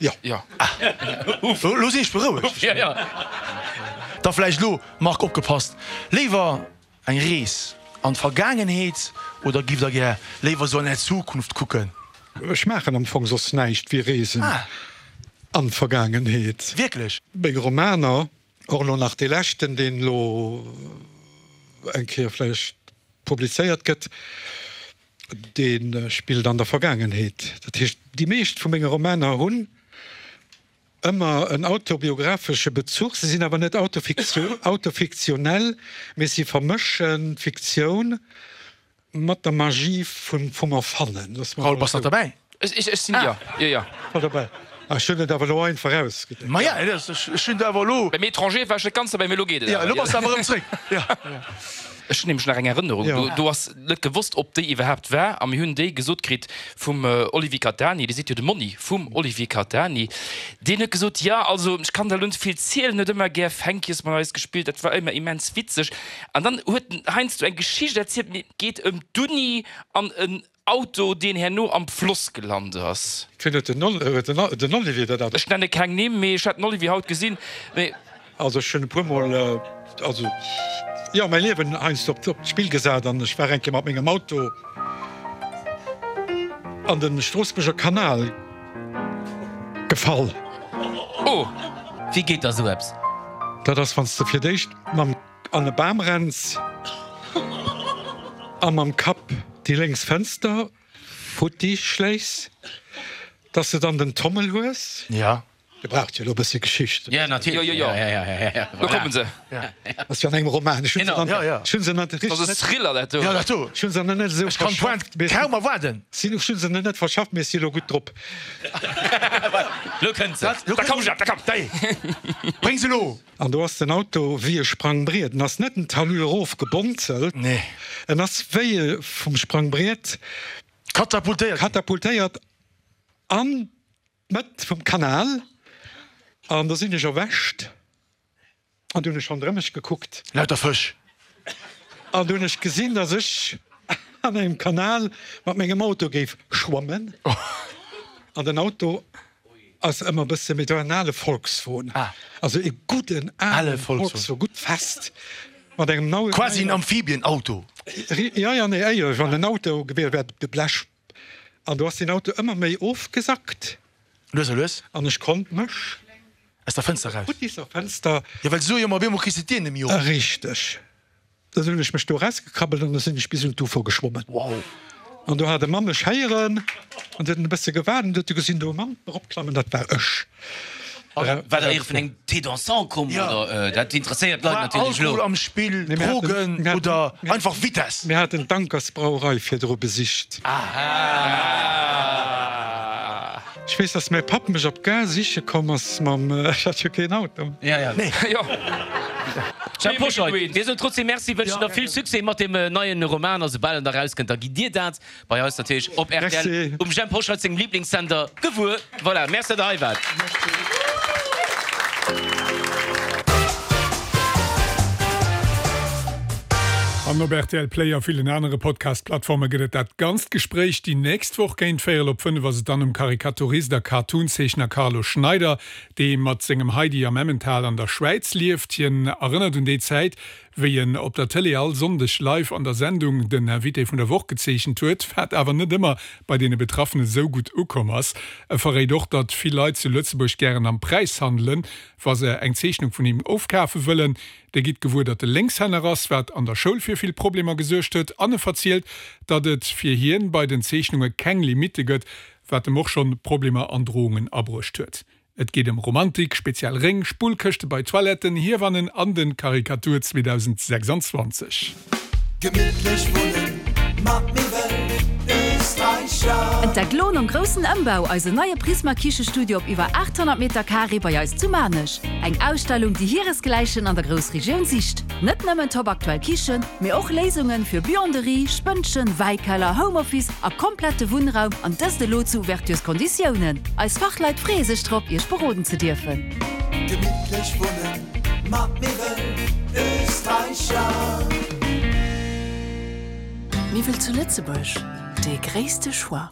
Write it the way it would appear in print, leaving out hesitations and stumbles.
Jo. Jo. Ah. Elo sinn ech berouegt. Jo, jo. Da vläicht elo, Marc, opgepasst, léiwer eng Rees an d'Vergaangenheet oder giff der gär léiwer sou an är Zukunft kucken? Ech maachen am Fong soss näischt wéi Reesen an d'Vergaangenheet. Wierklech? Meng Romaner, och elo nach dee leschten, deen elo eng Kéier vläicht publizéiert gëtt, dee spillt an der Vergaangenheet. Dat heescht, déi meescht vu menge Romaner hunn ëmmer en autobiographesche Bezuch. Se sinn awer net autofiktionell, mee si vermëschen d'Fiktioun mat der Magie vum Erfannen. Loosse mer Raoul, bass nach derbäi? Ech sinn, jo, jo, jo. Voll derbäi. Ah, ech hunn et awer elo einfach ausgedréckt. Ma ja, ech hunn et awer elo. Beim Étranger war ech net ganz derbäi, mee elo geet et awer. Jo, elo bass de awer erëm zréck. Jo. Ech hunn nämlech nach eng Erënnerung, do, do ass net gewosst, ob déi iwwerhaapt war, a mir hunn déi gesot kritt vum Olivier Catani, Dir sidd jo de Monni vum Olivier Catani, deen huet gesot, jo, also ech kann der elo net vill zielen, huet ëmmer gär Fänkjes mat eis gespillt, dat war ëmmer immens witzeg. An dann huet en heiansdo eng Geschicht erzielt, mee et geet ëm d'Uni an en Auto, deen herno am Floss gelant ass. Wien huet den Olivier dat Ech nenne keng Nimm, mee ech hat den Olivier haut gesinn, mee. Also ech hunn e puer mol, also jo, mäi Liewen heiansdo op d'Spill gesat an ech war eng Kéier mat mengem Auto an de Stroossbuerger Kanal gefall. Oh! Wéi geet da sou eppes? Dat ass, wann s de fir d'éischt mam. An e Bam renns a mam Kapp déi lénks Fënster futti schléiss, dass de dann den Tommel hues. Ja. Dir braucht jo elo e bëssi Geschicht. Ja, natierlech. Jo, jo, jo. Lo komme se. Ass jo an engem Roman. Ech hunn se dann, ech hunn se nach Dat ass e Thriller, dat do. Jo, dat do. Ech hunn se nach net esou Ech kann verschafft, d'Pointe kaum erwaarden. Ech hunn se nach net verschafft, mee ech si elo gutt drop. Lo kënnt se. Da komm, Jacques, da komm. Dei, bréng se elo. An do ass den Auto wéi e Sprangbriet. En ass net den Talus erof gebonzelt, en ass wéi e vum Sprangbriet Katapultéiert ginn. Katapultéiert an d'Mëtt vum Kanal. An do sinn ech erwächt an du hunn ech ronderëm mech gekuckt. Lauter Fësch. An du hunn ech gesinn, dass ech an engem Kanal mat mengem Auto géif schwammen. An den Auto Ass ëmmer bësse méi, dat war en ale Volkswon, also e gudden ale Volkswon, gutt fest, mat engem neien. Quasi en Amphibienauto. Jo, jo, nee, éierlech, wann en Auto gewiescht wär, de Blech, an do ass deen Auto ëmmer méi ofgesackt. Lues a lues. An ech konnt mech. Aus der Fënster eraus. Futtisser Fënster. Jo, well se soe jo ëmmer, op eemol kriss de d'Dier net méi op. Richteg. Da sinn ech mech do erausgekrabbelt an da sinn ech bis un d'Ufer geschwommen. Wow! An do hat e Mann mech héieren an huet en e bësse gewaart an du huet e gesinn do e Mann eropklammen, dat war ech. War der éier vun engem Thé dansant komm oder? Dat interesséiert d'Leit War natierlech elo. Alkohol am Spill, Drogen oder einfach Vitess? Mir haten d'Ankersbrauerei virdru besicht. Ech weess, dass mäi Papp mech op d'Gare siche komm ass mam, ech hat jo keen Auto. Nee. Jhemp Hoscheit, mir soen trotzdem Merci, wënschen der vill Succès mat deem neien Roman a soubal en da rauskënnt, da gitt Dir dat bei eis natierlech op rtl um Jhemp Hoscheit sengem Liblingssender gewuer. Voilà, Merci, datt Der hei waart. An op rtl Play a villen anere Podcast-Plattforme gëtt et dat ganzt Gespréich. Déi nächst Woch géint véierel op 5 ass et dann um Karikaturist a Cartoon-Zeechner Carlo Schneider, dee mat sengem Heidi am Emmental an der Schwäiz lieft. Hien erënnert un déi Zäit, wéi en op der Tëlee all Sonndeg live an der Sendung den Invité vun der Woch gezeechent huet, wat awer net ëmmer bei deene Betraffene sou gutt ukomm ass. E verréit och, datt vill Leit zu Lëtzebuerg gären am Präis handelen, wa se eng Zeechnung vun him ofkafe wëllen. Dir gitt gewuer, datt e Lénkshänner ass, wat an der Schoul fir vill Problemer gesuergt huet, an e verzielt, datt et fir hien bei den Zeechnunge keng Limitte gëtt, wat em och schonn Problemer an Drohungen abruecht huet. Et geet ëm Romantik, speziell Réng, Spullkëschte bei Toiletten, Hiewannen an den Karikatur 2026. Gemittlech wunnen mat Miwwel Österreicher. Entdeckt lo nom groussen Ëmbau eisen neie Prisma Kichestudio op iwwer 800 Meter Carré bei eis zu Maarnech. Eng Ausstellung déi hiresgläichen an der Groussregioun sicht. Net nëmmen top aktuell Kichen, mee och Léisungen fir Buanderie, Spënnchen, Wäikeller, Homeoffice a komplette Wunnraum an dëst elo zu Ouvertures-Konditiounen. Eis Fachleit freeë sech drop iech beroden ze dierfen. Gemittlech wunnen mat Miwwel Österreicher. Miwwel zu Lëtzebuerg, dee gréisste Choix.